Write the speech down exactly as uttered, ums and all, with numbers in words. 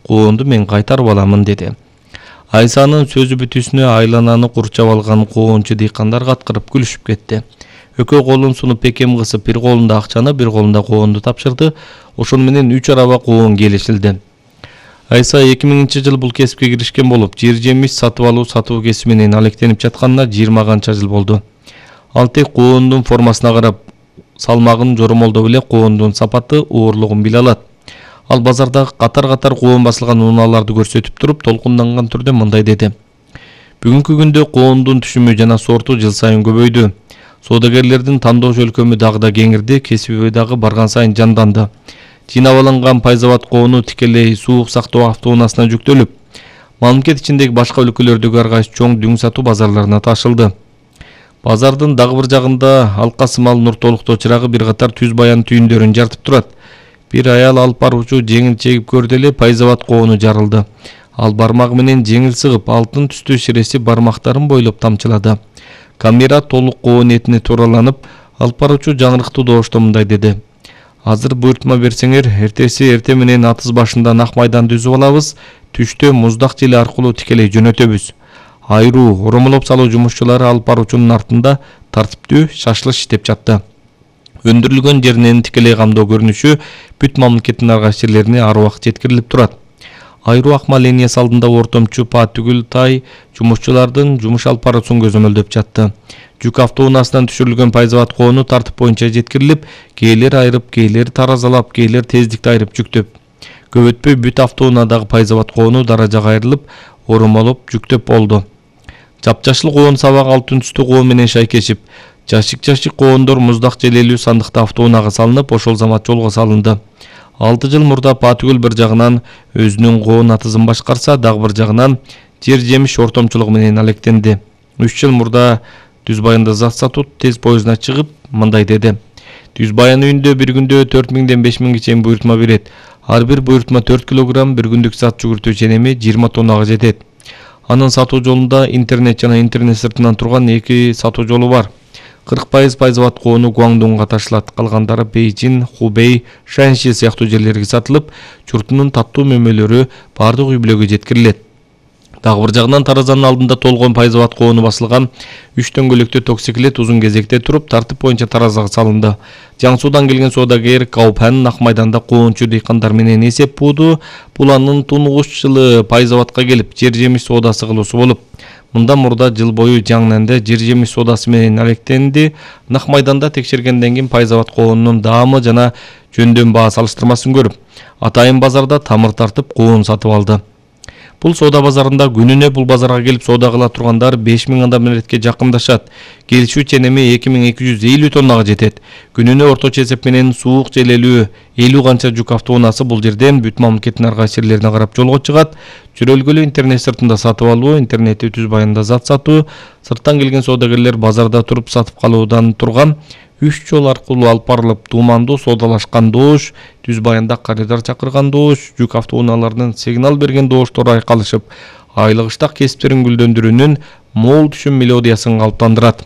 Коонду мен кайтарып аламын деди. Айсанын сөзү бүтүүсүнө айлананы курчап алган коончу дыйкандар каткырып күлүшүп кетти. Экөө колун сунуп пекем кысып, бир колунда акчаны, бир колунда коонду тапшырды. Ошону менен үч араба коон келишилди. Айса эки миңинчи жылы бул кесипке киришкен болуп, жер жемиш сатып алуу сатуу кесиби менен алектенип жатканына жыйырма канча жыл болду. Ал тек коондун формасына карап, салмагын жоромолдоп эле коондун сапаты, оорлугун биле алат. Ал базарда катар-катар коон басылган унааларды көрсөтүп туруп, толкунданган түрдө мындай деди. Бүгүнкү күндө коондун түшүмү жана сорту жыл сайын көбөйдү. Соодагерлердин тандоо өлкөмү дагы да кеңирди, кесиби дагы барган сайын жанданды. Жыйнап алынган пайзабат коону тикелей суук сактоо автоунаасына жүктөлүп, мамлекет ичиндеги башка өлкөлөрдөгү ар кайсы чоң дүң сатуу базарларына ташылды. Базардын дагы бир жагында алка сымал Нуртолуктоо чырагы бир катар түз баян түйүндөрүн жартып турат. Бир аял алып баруучу жеңил чегип көрдү эле пайзабат коону жарылды. Ал бармагы менен жеңил сыгып, алтын түстүү ширеси бармактарын бойлоп тамчылады. Камера толук коон этине туураланып, алып баруучу жаңырыктуу добушто мындай деди. Азыр буйртма берсеңер, эртеси эрте менен атыз башында ак майданды үзүп алабыз, түштө муздак желе аркылуу тикелей жөнөтөбүз. Айруу оромолоп салуу жумушчулары алып баруучунун артында тартиптүү шашлыш иштеп жатты. Өндүрүлгөн жеринен тикелей камдоо көрүнүшү бүт мамлекеттин ар кайсы жерлерине ар убакыт жеткирилип турат. Айруу акма линиясы алдында ортомчу па түгүл тай жумушчулардын жумуш алып баруусун көзөмөлдөп жатты. Жүк автоунаасынан түшүрүлгөн пайзабат коону тартып боюнча жеткирилип, кээлер айрып, кээлер таразалап, кээлер тездикти айрып жүктөп. Көп өтпөй бүт автоунаадагы пайзабат коону даражага айрылып, оромолоп жүктөп болду. Жапжашыл коон сабак алтын түстүү коон менен шайкешип, жашик-жашик коондор муздак желелүү сандыкта автоунаага салынып, ошол замат жолго салынды. алты жыл мурда Патүгүл бир жагынан өзүнүн коон атызын башкарса, дагы бир жагынан жер жемиш ортомчулугу менен алектенди. үч жыл мурда Түз Баянда зат сатуу тез поездуна чыгып, мындай деди. Түз Баян үйүндө бир күндө төрт миңден беш миңге чейин буйртма берет. Ар бир буйртма төрт килограмм, бир күндүк зат жүгүртүү ченеми жыйырма тоннага жетет. Анын сатуу жолунда интернет жана интернет сыртынан турган эки сатуу жолу бар. кырк пайыз пайзабат коону Гуаңдунга ташылат, калгандары Бейжин, Хубей, Шаньши сыяктуу жерлерге сатылып, журтунун таттуу мөмөлөрү бардык үй бүлөгө жеткирилет. Дагы бир жагынан таразанын алдында толгон пайзабат коону басылган үч дөңгөлөктүү токсиклет узун кезекте туруп, тартип боюнча таразага салынды. Жаңы Суудан келген соодагер Каупан ак майданда коончу дыйкандар менен эсеп бууду. Бул анын тунгуч жылы пайзабатка келип, жер жемиш соодасы кылуусу болуп. Мындан мурда жыл бою Жаңнанда жер жемиш соодасы менен алектенди. Нак майданда текшергенден кийин пайзабат коонунун даамы жана жөндөн баа салыштырмасын көрүп, атайын базарда тамыр тартып коон сатып алды. Бул соода базарында күнүнө бул базарга келип соода кыла тургандар беш миң адам эретке жакындашат. Келишүү ченеми эки миң эки жүз элүү тоннага жетет. Күнүнө орточо эсеп менен суук желелүү элүү канча жүк автоунаасы бул жерден бүт мамлекеттин ар кайсы жерлерине карап жолго чыгат. Чүрөлгөлүү интернет сыртында сатып алуу, интернетте Түз Баянда зат сатуу, сырттан келген соодагерлер базарда туруп сатып калуудан турган үч жол аркылуу алып барылып, туумандуу соодалашкан добуш, Түз Баянда коридор чакырган добуш, жүк автоунааларынын сигнал берген добуштору айкалышып, айлык ыштак кесиптерин гүлдөндүрүүнүн мол түшүм мелодиясын калыптандырат.